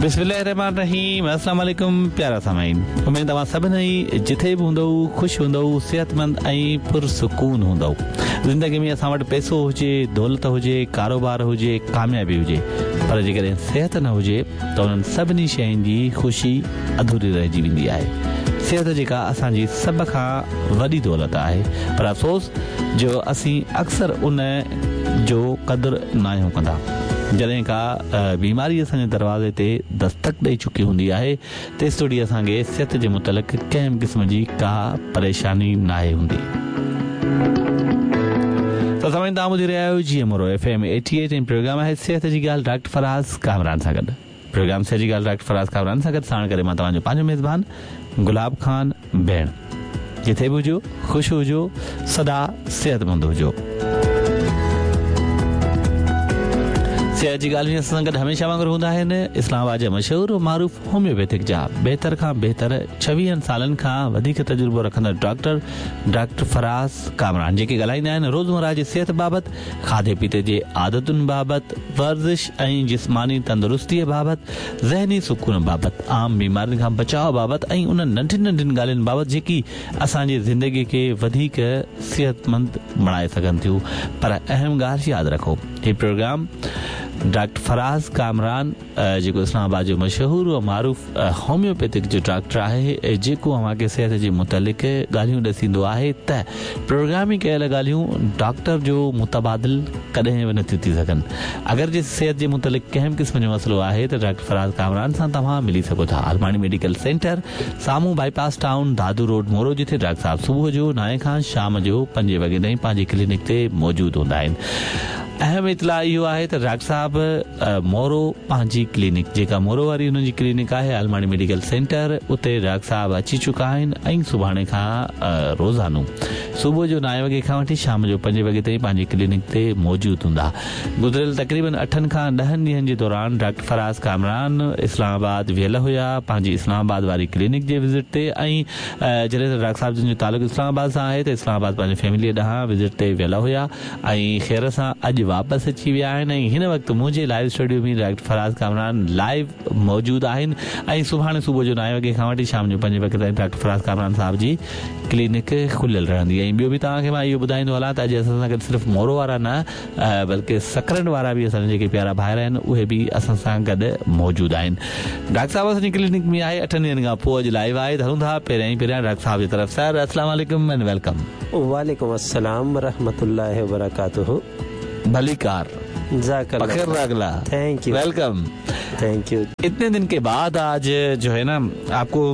بسم الله الرحمن الرحيم السلام عليڪم پيارا سامعين اميد توهان سڀني جٿي به هوندؤ خوش هوندؤ صحتمند ۽ پرسڪون هوندؤ زندگي ۾ اسان وٽ پئسو هجي دولت هجي ڪاروبار هجي ڪاميابي هجي پر جيڪڏهن صحت نه هجي ته انهن سڀني شين جي خوشي اڌوري رهجي ويندي آهي صحت جيڪا اسان جي سڀ کان وڏي دولت آهي پر افسوس جو اسين اڪثر ان جو قدر ناهيون ڪندا. جڏهن ڪا بيماري اسان جي دروازي تي دستڪ ڏئي چڪي هوندي آهي تيستوڙي اسان کي صحت جي متعلق ڪنهن به قسم جي ڪا پريشاني ناهي هوندي. ته سامعين توهان ٻڌي رهيا آهيو G M Moro F M 88 ۽ programme آهي صحت جي ڳالهه ڊاڪٽر فراز ڪامران سان گڏ. پروگرام صحت جي ڳالهه ڊاڪٽر فراز ڪامران سان گڏ ساڻ ڪري مان توهان جو پنهنجو ميزبان گلاب خان ڀيڻ. جٿي به هجو خوش هجو سدا صحتمند هجو. صحت جي ڳالهه ۾ اسان سان گڏ هميشه وانگر هوندا آهن اسلام آباد جا مشهور و معروف هوميوپيٿڪ جا بهتر کان بهتر ڇويهن سالن کان وڌيڪ تجربو رکندڙ ڊاڪٽر ڊاڪٽر فراز ڪامران جيڪي ڳالهائيندا آهن روزمره جي صحت بابت کاڌي پيتي جي عادتن بابت ورزش ۽ جسماني تندرستيء بابت، ذهني سڪون بابت، عام بيمارين کان بچاء بابت ۽ انهن ننڍين ننڍين ڳالهين بابت جيڪي اسان جي زندگيء کي وڌيڪ صحتمند بڻائي سگهن ٿيون. پر اهم ڳالهه ياد رکو هي پروگرام ڊاڪٽر فراز ڪامران جيڪو اسلام آباد جو مشهور و معروف هوميوپيٿڪ جو ڊاڪٽر آهي جيڪو اوهان کي صحت جي متعلق ڳالهيون ڏسيندو آهي ته پروگرام ۾ ڪيل ڳالهيون ڊاڪٽر جو متبادل ڪڏهن به نٿيون ٿي سگهن. اگر جي صحت جي متعلق ڪنهن به قسم جو مسئلو آهي ته ڊاڪٽر فراز ڪامران سان توهان ملي سگهو ٿا. عالماڻي ميڊيڪل سينٽر سامهون bypass town Dadu road Moro جتي ڊاڪٽر صاحب صبح جو نائين کان شام جو پنجين وڳي تائين پنهنجي ڪلينڪ تي موجود هوندا آهن. اهم اطلاع اهو آهي ته ڊاڪٽر صاحب مورو پنهنجي ڪلينڪ جيڪا مورو واري انهن جي ڪلينڪ آهي عالماڻي ميڊيڪل سينٽر اتي ڊاڪٽر صاحب اچي چڪا آهن ۽ سڀاڻي کان روزانو صبح جو نائين وڳي کان وٺي شام جو پنجين وڳي تائين پنهنجي ڪلينڪ تي موجود هوندا. گذريل تقريبن اٺن کان ڏهن ڏينهن جي دوران ڊاڪٽر فراز ڪامران اسلام آباد ويل هيا پنهنجي اسلام آباد واري ڪلينڪ جي وزٽ تي ۽ جڏهن ته ڊاڪٽر صاحب جن جو تعلق اسلام آباد سان آهي ته اسلام آباد پنهنجي فيمليء ڏانهن وزٽ تي ويل هيا ۽ خير سان اڄ واپس اچي ويا آهن ۽ هن وقت منهنجي live studio ۾ doctor Faraz Kamran live موجود آهن ۽ سڀاڻي صبح جو نائين وڳي کان وٺي شام جو پنجين وڳي تائين ڊاڪٽر فراز ڪامران صاحب جي ڪلينڪ کليل رهندي ۽ ٻيو به توهان کي مان اهو ٻڌائيندو هلان ته اڄ اسان سان گڏ صرف مورو وارا نه بلڪه سڪرنڊ وارا به اسان جا جيڪي پيارا ڀائر آهن اهي به اسان سان گڏ موجود آهن ڊاڪٽر صاحب اسان جي ڪلينڪ ۾ آهي اٺن ڏينهن کان پوء اڄ لائيو آهي ته هلون ٿا پهريان ئي پهريان ڊاڪٽر صاحب جي طرف سر السلام عليڪم اينڊ welcome. وعليڪم السلام ورحمة الله وبرڪاته. ڀليڪار. جزاڪ الله پخير راغلا. Thank you. Welcome. Thank you. اتني دن ڪي بعد آج جو هي نا آپ ڪو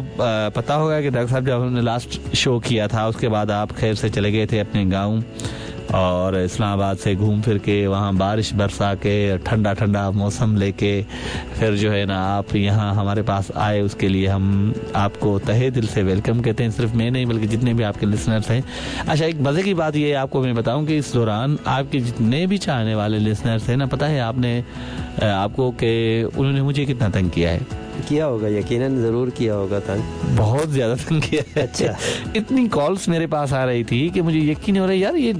پتا هوگا ڪي ڊاڪٽر صاحب جب هم ني لاسٽ شو ڪيا ٿا اس ڪي بعد آپ خير سي چلي گئي ٿي اپني گائون اور اسلام آباد سي گهوم ڦر ڪي وهان بارش برسا ڪي ٺنڊا ٺنڊا موسم لي ڪي ڦر جو هي نا آپ يهان هماري پاس آئي اس ڪي ليي هم آپ ڪو تهه دل سي welcome ڪهتي هين صرف مين نهين بلڪه جتني ڀي آپ ڪي لسنرس هين اڇا ايڪ مزي ڪي بات يي آپ ڪو مين بتائون ڪي اس دوران آپ ڪي جتني ڀي چاهني والي لسنرس هين نا پتا هي آپ ني آپ ڪو ڪي انهون ني مجهي ڪتنا تنگ ڪيا هي. ڪيا هوگا يقينن ضرور ڪيا هوگا تنگ. بهت زياده تنگ ڪيا هي. اڇا. اتني ڪالس ميري پاس آ رهي ٿي ڪي مجهي يقين نهين هو رها يار يي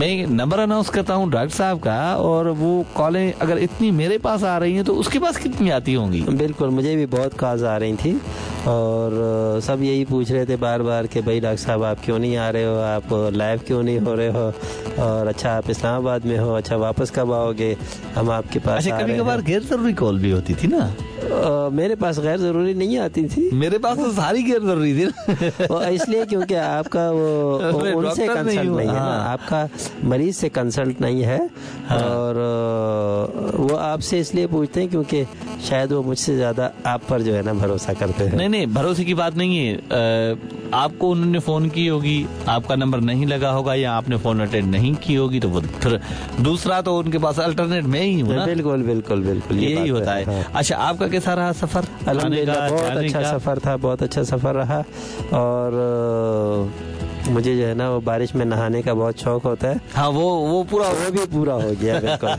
مين نمبر اناونس ڪرتا هون ڊاڪٽر صاحب ڪا اور وو ڪالين اگر اتني ميري پاس آ رهي هين تو اس ڪي پاس ڪتني آتي هونگي. بلڪل مجهي ڀي بهت ڪالز آ رهي ٿي اور سب يهي پوڇ رهي ٿي بار بار ڪي ڀئي ڊاڪٽر صاحب آپ ڪيون نهين آ رهي هو آپ لائيو ڪيون نهين هو رهي هو اور اڇا آپ اسلام آباد ۾ هو اڇا واپس ڪب آئوگي هم آپ ڪي پاس اڇا آ ڪڀي رهي ڪڀار هين. غير ضروري ڪال ڀي هوتي ٿي نا. ميري پاس غير ضروري نهين آتي ٿي. ميري پاس تو ساري غير ضروري ٿي نا. وہ اس لئي ڪيونڪه آپ ڪا وہ ان سي ڊاڪٽر ڪنسلٽ نهين هون نهين هي نا ها. آپ ڪا مريض سي ڪنسلٽ نهين هي اور وہ آپ سي اس لئي پوڇتي هين ڪيونڪه شايد وہ مجھ سي زياده آپ پر جو هي نا ڀروسا ڪرتي هين. نهين نهين ڀروسي ڪي بات نهين هي آپ ڪو انهون ني فون ڪي هوگي آپ ڪا نمبر نهين لگا هوگا يا آپ ني فون اٽينڊ نهين ڪي هوگي تو ڦر دوسرا تو ان ڪي پاس الٽرنيٽ مين هي هون نا. بلڪل بلڪل بلڪل يهي هوتا هي. اڇا آپ ڪا ڪيسا رها سفر آني ڪا الحمدلله بهت جاني اڇا ڪا. سفر ٿا بهت اڇا سفر رها اور مجهي جو هي نا وو بارش ۾ نهاني ڪا بهت شوق هوتا هي. ها وو وو پورا وو ڀي پورا هو گيا بلڪل.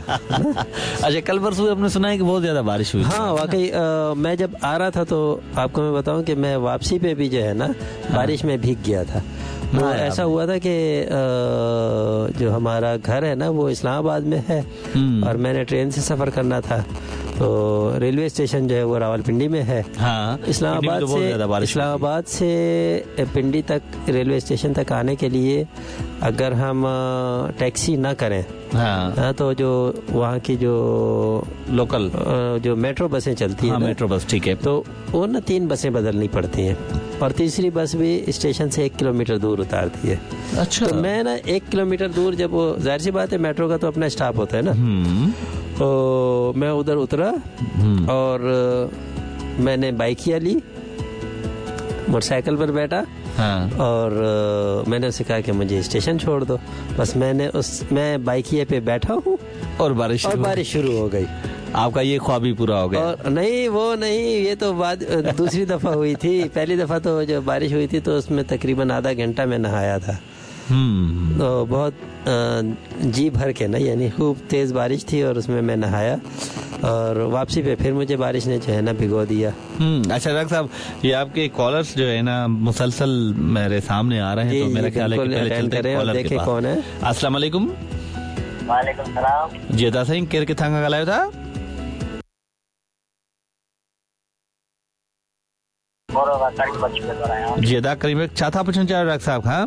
اڇا ڪل پرسون هم ني سنا هي ڪي بهت زياده بارش هئي ها واقعي مين جب آ رها ٿا تو آپ ڪو مين بتائون ڪي مين واپسي پي ڀي جو هي نا بارش ۾ ڀيگ گيا ٿا وو ايسا هوا ٿا ڪي جو همارا گهر هي نا وو اسلام آباد ۾ هي اور مين ني ٽرين سي سفر ڪرنا ٿا तो रेलवे स्टेशन जो है वो रावलपिंडी में है। हाँ, इस्लामाबाद तो से इस्लामाबाद से पिंडी तक रेलवे स्टेशन तक आने के लिए अगर हम टैक्सी ना करें, हाँ, तो जो वहाँ की जो लोकल जो मेट्रो बसें चलती हैं, मेट्रो बस, ठीक है, तो वो ना 3 बसें बदलनी पड़ती हैं और तीसरी बस भी स्टेशन से 1 किलोमीटर दूर उतारती है। अच्छा। तो मैं ना 1 किलोमीटर दूर, जब वो जाहिर सी बात है मेट्रो का तो अपना स्टॉप होता है ना, तो मैं उधर उतरा और मैंने बाइकिया ली, मोटरसाइकिल पर बैठा, हाँ। और मैंने उसे कहा कि मुझे स्टेशन छोड़ दो। बस मैंने मैं बाइकिया पे बैठा हूँ और बारिश शुरू हो गई। आपका ये ख्वाब भी पूरा हो गया। और नहीं, वो नहीं, ये तो बाद दूसरी दफ़ा हुई थी। पहली दफ़ा तो जो बारिश हुई थी तो उसमें तकरीबन आधा घंटा मैं नहाया था। तो बहुत जी भर के ना, यानी खूब तेज़ बारिश थी और उसमें मैं नहाया और वापसी पे फिर मुझे बारिश ने जो है ना भिगो दिया। अच्छा डॉक्टर साहब, ये आपके कॉलर्स जो है ना मुसलसल मेरे सामने आ रहे हैं, तो मेरा ख्याल है कि पहले चलते हैं कॉलर के पास। कौन है? अस्सलाम वालेकुम। वालेकुम सलाम। जी अदा साईं, केर किथां खां ॻाल्हायो था? जी अदा करीम, छा था पुछणु चाहियो डॉक्टर साहब खां?